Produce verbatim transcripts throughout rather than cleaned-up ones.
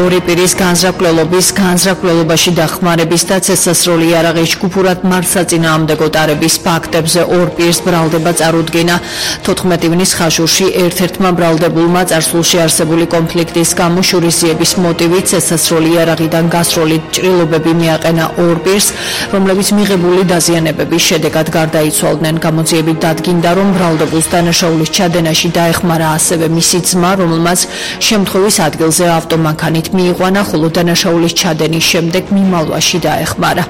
ორი პირის განზრახველობის, განზრახველობაში დახმარების და ცეცხლსროლი იარაღის ჯგუფურად მართლსაწინააღმდეგო ტარების ფაქტებზე ორ პირს ბრალდება წარუდგინა. თოთხმეტი ივნის ხაშურში ერთ-ერთმა ბრალდებულმა წარსულში არსებული კონფლიქტის გამო შურისძიების მოტივით ცეცხლსროლი იარაღიდან გასროლი ჭრილობები მიაყენა ორ პირს, რომლებიც მიღებული დაზიანებების შედეგად გარდაიცვალდნენ. გამოძიებით დადგინდა, რომ ბრალდებულს დანაშაულის ჩადენაში დაეხმარა ასევე მისი ძმა, რომელმაც შემთხვევის ადგილზე ავტომანქანით მიიყვანა, ხოლო დანაშაულის ჩადენის შემდეგ მიმალვაში დაეხმარა.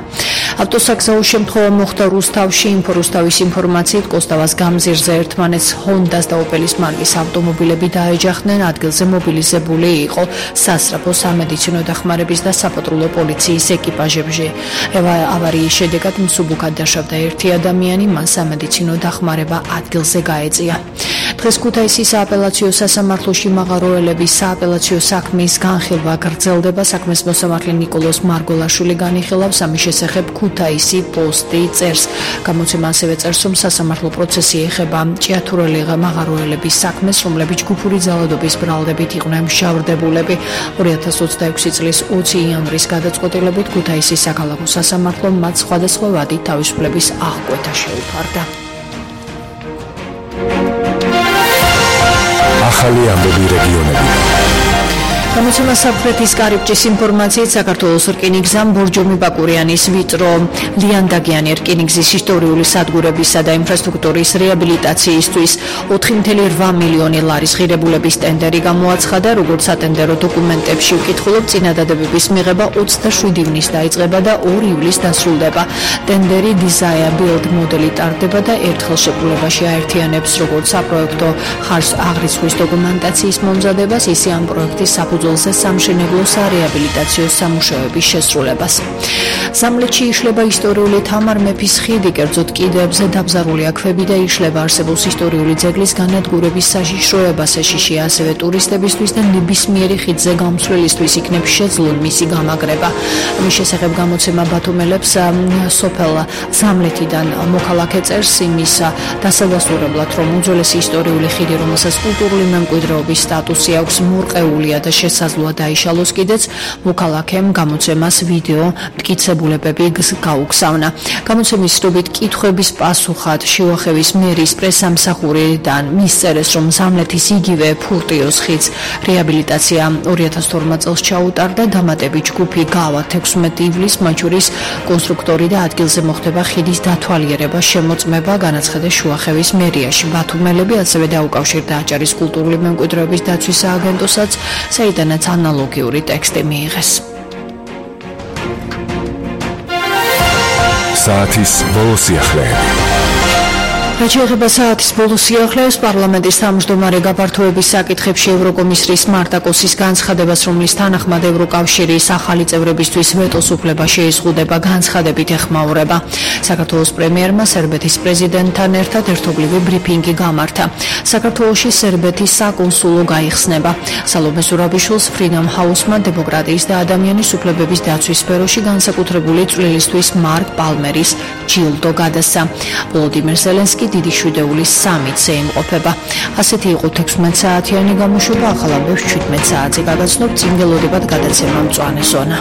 ავტოსაგზაო შემთხვევა მოხდა რუსთავში. ინფორუსთავის ინფორმაციით კოსტავას გამზირზე ერთმანეთს ჰონდას და ოპელის მარკის ავტომობილები დაეჯახდნენ. ადგილზე მობილიზებული იყო სასწრაფო სამედიცინო დახმარების და საპატრულო პოლიციის ეკიპაჟები. ავარიის შედეგად მსუბუქად დაშავდა ერთი ადამიანი, მან სამედიცინო დახმარება ადგილზე გაეწია. დღეს ქუთაისის სააპელაციო სასამართლოში მაღაროელების სააპელაციო საქმის განხილვა გრძელდება. საქმის მოსამართლე ნიკოლოზ მარგოლაშვილი განიხილავს, ამის შესახებ ქუთაისი პოსტი წერს. გამოცემა ასევე წერს, რომ სასამართლო პროცესი ეხება ჭიათურელი მაღაროელების საქმეს, რომლებიც ჯგუფური ძალადობის ბრალდებით იყვნენ მშავრდებულები. ორი ათას ოცდაექვსი წლის ოცი იანვრის გადაწყვეტილებით ქუთაისის საქალაქო სასამართლომ მათ სხვადასხვა ვადით თავისუფლების აღკვეთა შეუფარდა. ახალი ამბები რეგიონები. გამოცემა საფრეთის კარიბჭის ინფორმაციით საქართველოს რკინიგზამ ბორჯომი ბაკურიანის ვიწრო ლიანდაგიანი რკინიგზის ისტორიული სადგურებისა და ინფრასტრუქტურის რეაბილიტაციისთვის ოთხი წუთი რვა მილიონი ლარის ღირებულების ტენდერი გამოაცხადა. როგორც სატენდერო დოკუმენტებში ვკითხულობ, წინადადებების მიღება ოცდაშვიდი ივნის დაიწყება და ორი ივლისს დასრულდება. ტენდერი Desire-Build მოდელი ტარდება და ერთხელ შეფულებაში აერთიანებს როგორც საპროექტო ხარჯს აღრიცხვის დოკუმენტაციის მომზადებას, ისე ამ პროექტის საფუძველზე სამშენებლო სარეაბილიტაციო სამუშაოების შესრულებას. სამლეთში იშლება ისტორიული თამარ მეფის ხიდი, კერძოდ კიდეებზე დაბზარულია ქვები და იშლება არსებობს ისტორიული ძეგლის განადგურების საშიშროებას. ეშიშია ასევე ტურისტებისთვის და ნებისმიერი ხიდზე გამცვლელისთვის იქნებ შეძლონ მისი გამაგრება. ამის შესახებ გამოცემა ბათუმელებს სოფელ სამლეთიდან მოქალაქე წერს იმის დასადასტურებლად, რომ უძველესი ისტორიული ხიდი, რომელსაც კულტურული მემკვიდრეობის სტატუსი აქვს, მორყეულია და შესაძლოა დაიშალოს კიდეც. მოქალაქემ გამოცემას ვიდეო მტკიცებულებები გაუგზავნა. გამოცემის სრობით კითხვების პასუხად შიუახევის მერის პრესამსახურიდან მისწერეს, რომ სამლეთის იგივე ფურტიოს ხიდს რეაბილიტაცია ორი ათას თორმეტ წელს ჩაუტარდა. დამატებით ჯგუფი გავა თექვსმეტი ივლისს, მათ შორის კონსტრუქტორი და ადგილზე მოხდება ხიდის დათვალიერება, შემოწმება, განაცხადეს შუახევის მერიაში. ბათუმელები ასევე დაუკავშირდა აჭარის კულტურული მემკვიდრეობის დაცვის სააგენტოსაც, საიდანაც ანალოგიური ტექსტი მიიღეს. საათის ბოლო სიახლეები. რაც შეეხება საათის ბოლო სიახლეებს, პარლამენტის თავმჯდომარე გაფართოების საკითხებში ევროკომისრის მარტაკოსის განცხადებას, რომლის თანახმად ევროკავშირის ახალი წევრებისთვის ვეტოს უფლება შეიზღუდება, განცხადებით ეხმაურება. საქართველოს პრემიერმა სერბეთის პრეზიდენტთან ერთად ერთობლივი ბრიფინგი გამართა. საქართველოში სერბეთის საკონსულო გაიხსნება. სალომე ზურაბიშვილს Freedom House-მა დემოკრატიის და ადამიანის უფლებების დაცვის სფეროში განსაკუთრებული წვლილისთვის მარკ პალმერის ჯილდო გადასცა. ვოლოდიმირ ზელენსკი დიდი შვიდეულის სამიტზე იმყოფება. ასეთი იყო თექვსმეტ საათიანი გამოშვება, ახალ ამბებს შვიდმეტ საათზე გაგაცნობთ. წინ ველოდებათ გადაცემა მწვანე ზონა.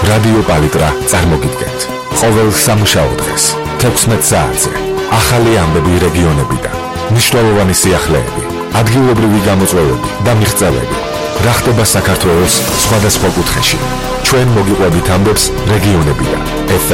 რადიო პალიტრა წარმოგიდგენთ. ყოველ სამუშაო დღეს თექვსმეტ საათზე ახალი ამბები რეგიონებიდან, მნიშვნელოვანი სიახლეები, ადგილობრივი გამოწვევები და მიღწევები. რა ხდება საქართველოს სხვადასხვა კუთხეში. ჩვენ მოგიყვებით ამბებს რეგიონებიდან. ეფ ემ